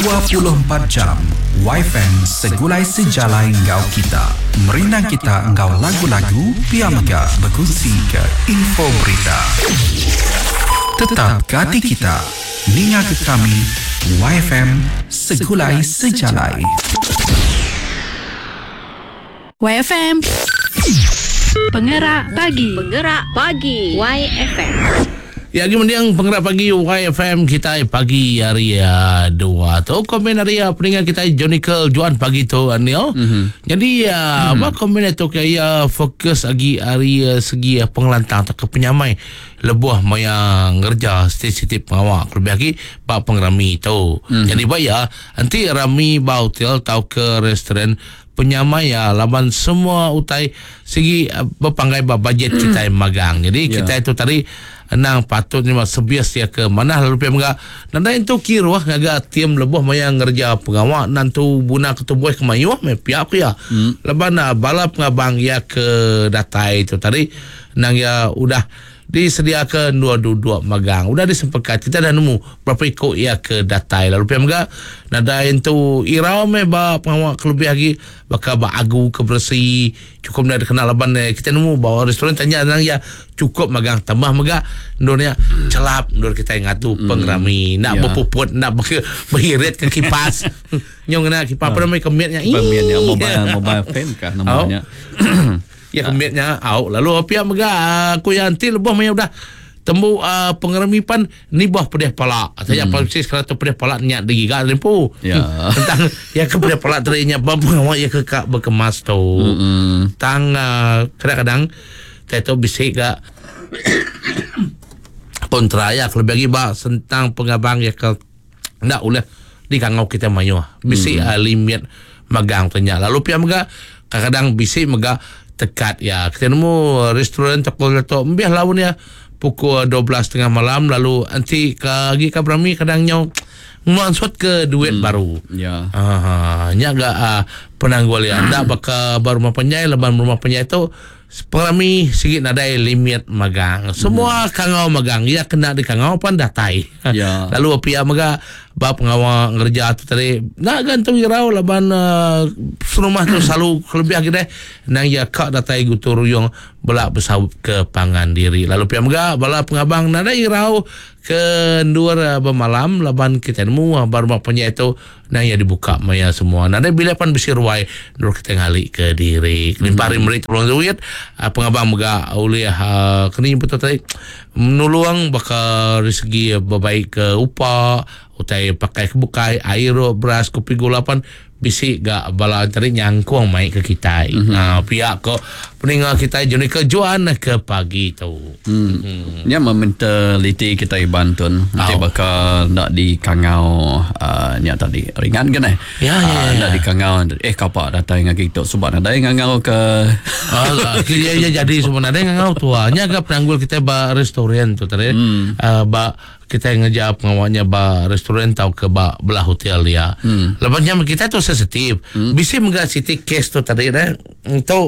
24 jam YFM segulai sejalai enggau kita. Merindang kita enggau lagu-lagu pia mega bekunsi ke info berita. Tetap ke ati kita ninga ke kami YFM segulai sejalai. YFM. Pengerak pagi. Pengerak pagi YFM. Ya agi mending pengerak pagi YFM kitai pagi hari uh, dua tu komen ari uh, peninga kitai Jonical Juan pagi tu Anil. Mm-hmm. Jadi uh, mm-hmm. apa komen tu ke ya fokus agi ari uh, segi uh, pengelantang atau ke penyamai lebuh maya ngerja siti-siti pengawa kelebih agi ba pengerami tu. Mm-hmm. Jadi ba ya enti rami ba hotel tau ke restoran penyamai iya laban semua utai sigi bepanggai ba bajet kitai magang. Jadi kitai tu tadi endang patut nyema servis iya ke manah lalu pia mega nadai entu kiruh ngaga tim lebuh maya ngereja pengawa nentu guna ke tubuh ke mayuh meh pia ku iya. Laban bala pengabang iya ke datai tu tadi endang iya udah Disediaka endur duduk magang. Udah disempekat kita dah nemu berapa iku iya ke datai. Lalu pia mega nadai entu irau meh ba pengawa ke lebih agi baka ba agu ke beresi chukup enda dikena laban kita nemu ba restoran tanya nang iya chukup magang tambah mega endur nya chelap endur kitai ngatu pengerami enda bepuput enda behirit ke kipas nyau ngena kipas apa nama kemit nya. Kemit nya mobile mobile fan kah nama nya. Iya ke mit nya au lalu pia mega ku iya enti lebuh maya udah tembu uh, pengerami pan nibah pedih pala. Saya hmm. polisi sekarang tu pedih pala nya digiga empu. Ya. Tentang ya ke pedih pala tadi nya ba pengawa ya ke ka berkemas tu. Hmm. Tang uh, kadang-kadang saya tu bisi ga kontra ya lebih lagi ba sentang pengabang ya ke enda ulih dikangau kitai mayuh. Bisi hmm. uh, limit magang tu nya. Lalu pia mega kadang-kadang bisi mega tekat ya. Kita nemu restoran toko tu embih laun ya pukul 12.30 malam lalu enti ke agi ka berami kadang nyau mansut ke duit hmm. baru. Ya. Ha, nya ga uh, penanggul ya. Enda baka ba rumah panjai laban rumah panjai tu Pengerami sigi nadai limit magang. Semua kangau magang. Iya kena dikangau pan datai. Ya. Lalu pia mega ba pengawa ngereja tu tadi enda ga entu irau laban uh, serumah tu selalu kelebih agi deh nang iya ka datai gutu ruyung bela besaup ke pangan diri. Lalu pia mega bala pengabang nadai irau ke endur bemalam laban kitai nemu ba rumah panjai tu Nang iya dibuka maya semua. Nadai bilik pan bisi ruai endur kitai ngali ke diri. Kelimpah ari meri tulung duit, pengabang mega ulih keni nyebut tu tadi nulung baka ari segi bebaik ke upa, utai pakai ke bukai, air, beras, kopi gula pan bisi ga bala tadi nyangkung mai ke kitai. Aa pia ko peninga kitai Jonica Juan ke pagi tu. Hmm. Nya meh mentaliti kitai Iban tun. Enti baka enda dikangau uh, nya tadi ringan ke neh. Ya, ya, ya. Enda dikangau eh kapa datai ngagai tu suba nadai ngangau ke Ah, ya, ya jadi semua nadai ngangau tua. Nya ga penanggul kitai ba restoran tu tadi. Hmm. Uh, ba Kitai ngereja pengawa nya ba restoran tauka ba belah hotel dia. Hmm. Lepas nya kitai tu sensitif. Hmm. Bisi mega siti kes tu tadi deh. Tu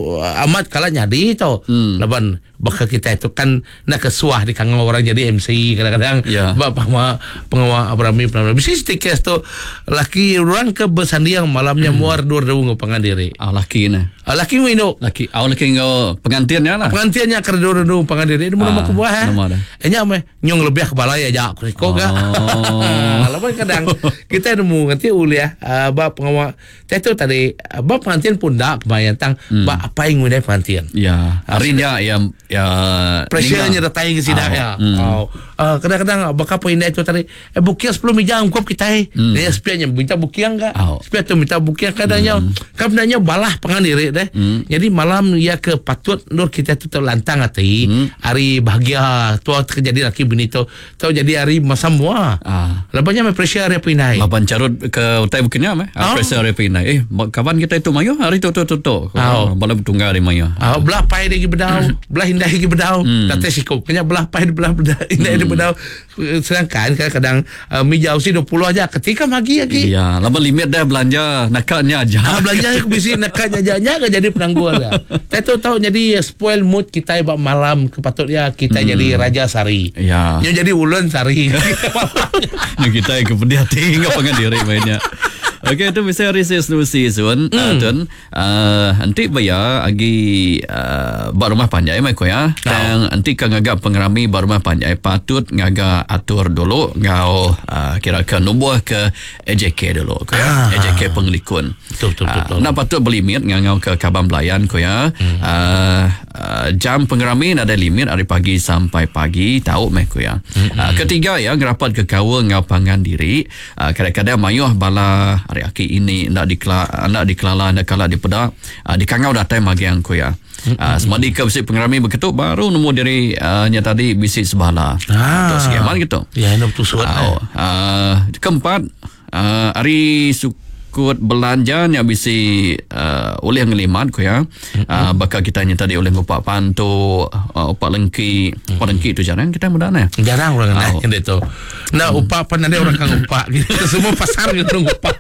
amat kala nyadi tu. Hmm. Laban baka kitai tu kan nak kesuah di kangau orang jadi MC kadang-kadang yeah. ba pengawa pengawa berami pengawa. Bisi siti kes tu laki orang ke bersanding malamnya hmm. muar dua dua ngau pangan diri. Ah laki ne. Ah, laki ngau indu. Laki au laki ngau pengantin nya lah. Pengantin nya ke dua-dua pangan diri. Nama uh, kebuah eh. Nama dah. Eh, nya meh Nyung lebih ke balai aja ku siko ga. Oh. Laban kadang kita nemu nganti ulih uh, ba pengawa tai tu tadi uh, ba pengantin pun enda kemaya tang hmm. ba apai ngundai pengantin. Ya. Hari nya ya ya pressure nya datai ke sida ya. Hmm. Oh. Uh, kadang-kadang baka apa indai tu tadi eh buking 10 meja ungkup kitai. Hmm. Dia sepia nya minta buking ga. Oh. Sepia tu minta buking kadangnya hmm. kan nya balah pangan diri deh. Hmm. Jadi malam ia ke patut endur kita tu lantang ati. Hmm. Hari bahagia tua ke jadi laki bini tu tau jadi hari masa mua. Ah. Laban nya meh pressure hari pinai. Laban carut ke utai bukan nya meh. Oh. Pressure hari pinai. Eh kaban kita itu mayuh hari tu tu tu tu. Oh. Bala betunggal hari mayuh. Ah, belah pai lagi bedau, belah indai lagi bedau. Datai siko. Kenya belah pai belah bedah indai hmm. bedau sedangkan kadang-kadang mija usi 20 aja ketika magi agi. Ya, laban limit dah belanja naka nya aja. Ah belanja aku bisi naka nya aja nya ke jadi penanggul ya. Tai tu tau jadi spoil mood kitai ba malam ke patut ya kitai jadi raja sari. Ya. Nya jadi ulun sari. Nya kitai ke pedih ati enggau pangan diri meh nya. Okey tu bisi hari sis Lucy sun tun enti ba iya agi ba rumah panjai meh ku iya tang enti ka ngaga pengerami ba rumah panjai patut ngaga atur dulu enggau kira ke numbuh ke AJK dulu ku iya AJK pengelikun. Betul betul betul. Enda patut belimit ngangau ke kaban belayan ku iya Jam pengerami nadai limit ari pagi sampai pagi tau meh ku iya. Ketiga iya ngerapat ke kaul enggau pangan diri. Kadang-kadang mayuh bala ari aki ini enda dikela enda dikelala enda kala dipeda dikangau datai magang ku iya. Semadi ke bisi pengerami beketu baru nemu diri nya tadi bisi sebala. Tu sigi amat ke tu. Ya enda betusut. Keempat Ari sukut belanja nya bisi ulih ngelimat ku iya. Baka kita nya tadi ulih ngupak pantu, upak lengki. Upak lengki tu jarang kita meda neh. Jarang orang neh kende tu. Enda upak pan nadai orang ka ngupak. Semua pasar ke ngupak.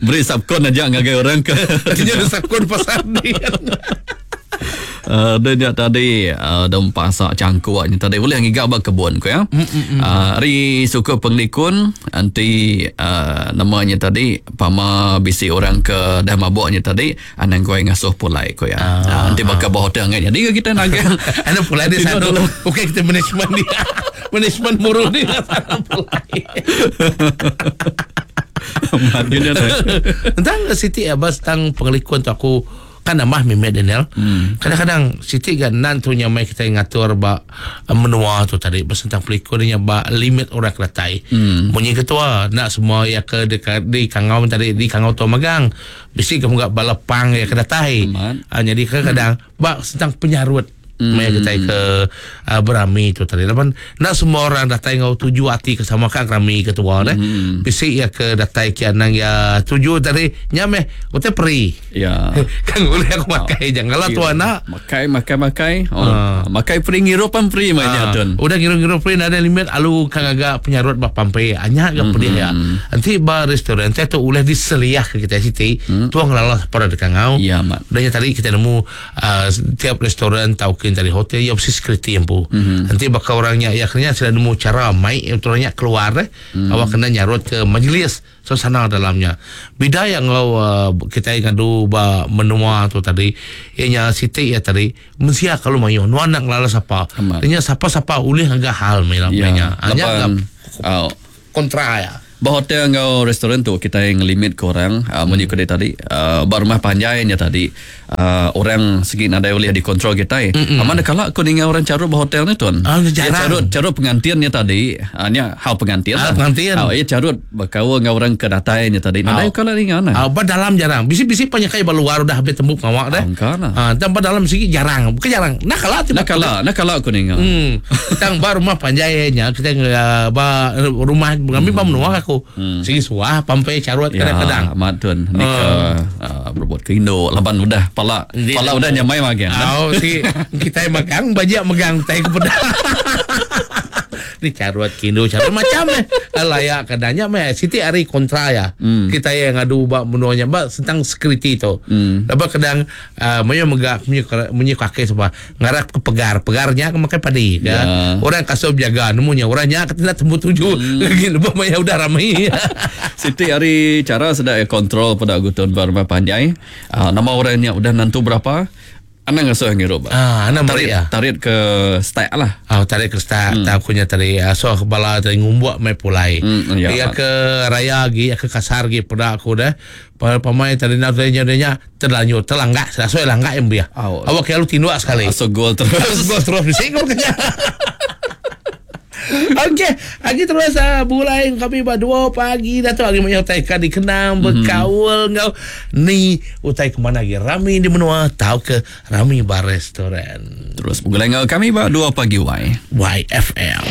Beri subkon aja ngagai orang ke. Nya subkon pasar dia. Deh nya tadi deh pasak changkuk nya tadi ulih ngiga ba kebun ku ya. Ari suku pengelikun enti nama nya tadi pama bisi orang ke dah mabuk nya tadi anang guai ngasuh pulai ku ya. Enti baka ba hotel ngai nyadi ga kita nagang. Anu pulai dia satu. Okey kita management dia. Management muru dia sana pulai. Tentang Siti Abbas tentang pengelikun tu aku Kan nambah mimit Daniel. Kadang-kadang siti ga nan tu nya mai kitai ngatur ba menua tu tadi besentang pelikun nya ba limit orang ke datai. Munyi ketua enda semua iya ke deka dikangau tadi dikangau tu magang. Bisi ga mega bala pang iya ke datai. Nyadi kadang-kadang ba sentang penyarut. Maya kitai ke berami tu tadi laban enda semua orang datai enggau tuju ati ke sama ka rami ketua deh. Bisi iya ke datai ke anang iya tuju tadi nya meh utai peri. Ya. Kan ulih aku makai jangan lah tuan nak. Makai makai makai. Oh, makai free ngirup pan free meh nya tun. Udah ngirup-ngirup free nadai limit alu ka ngaga penyarut ba pampe. Anya ga pedih iya. Enti ba restoran tu ulih diseliah ke kitai siti tuang ngelala sapa deka ngau. Ya amat. Udah nya tadi kitai nemu Tiap restoran tauka entari hotel iya mesti security empu. Enti baka orang nya iya kena sida nemu chara mai orang nya keluar eh awak kena nyarut ke majlis suasana dalam nya. Bida iya enggau kitai ngadu ba menua tu tadi iya nya siti iya tadi mensia kelalu mayuh nuan enda ngelala sapa. Nya sapa-sapa ulih ngaga hal meh nya. Nya ga kontra iya. Ba hotel enggau restoran tu kitai ngelimit ke orang munyi ku dek tadi ba rumah panjai nya tadi orang sigi nadai ulih dikontrol kitai. Amat ne kala ku ninga orang charut ba hotel nya tuan. Iya charut charut pengantin nya tadi nya hal pengantin lah. Iya charut bekaul enggau orang ke datai nya tadi nadai kala ninga ne. Ba dalam jarang. Bisi bisi penyekai ba luar udah habis tembu pengawa deh. Tang ba dalam sigi jarang. Bukan jarang. Enda kala ti. Enda kala enda kala ku ninga. Tang ba rumah panjai nya kitai ba rumah kami ba menua aku sigi suah pampai charut kadang-kadang. Ya amat tun ni ke berebut ke indu laban udah pala pala udah nyamai magang. Au sigi kitai magang bajik megang utai ke peda. Ni charut ke indu charut macam meh layak kadang nya meh siti ari kontra iya kitai ngadu ba menua nya ba sentang security tu. Laban kadang mayuh mega munyi kaki suba. Ngarap ke pegar. Pegar nya ke makai padi ke. Ya. Orang kasuh bejaga nemu nya orang nya ke enda tembu tuju lagi lebuh maya udah rami. Siti ari chara sida iya kontrol peda gutun ba rumah panjai. Uh, nama orang nya udah nentu berapa anang ngasuh ngirup. Ah, anang tarik meri iya. tarik ke stack lah. Ah, tarik ke stack hmm. aku nya tadi asuh bala tadi ngumbuk mai pulai. Ya. Iya ke raya agi, iya ke kasar agi peda aku dah. Pamai tadi nak nya nya Terlanjur terlanggak asoi langgak yang biah. Au. Awak kaya lu tinduk sekali. Aso gol terus. Terus gol terus bisi gol kenya. Okey, lagi terus bulai kami ba 2 pagi dah tu lagi banyak utai ka dikenang bekaul enggau ni utai ke mana lagi rami di menua tauka rami ba restoran. Terus begulai enggau kami ba 2 pagi Y. YFM.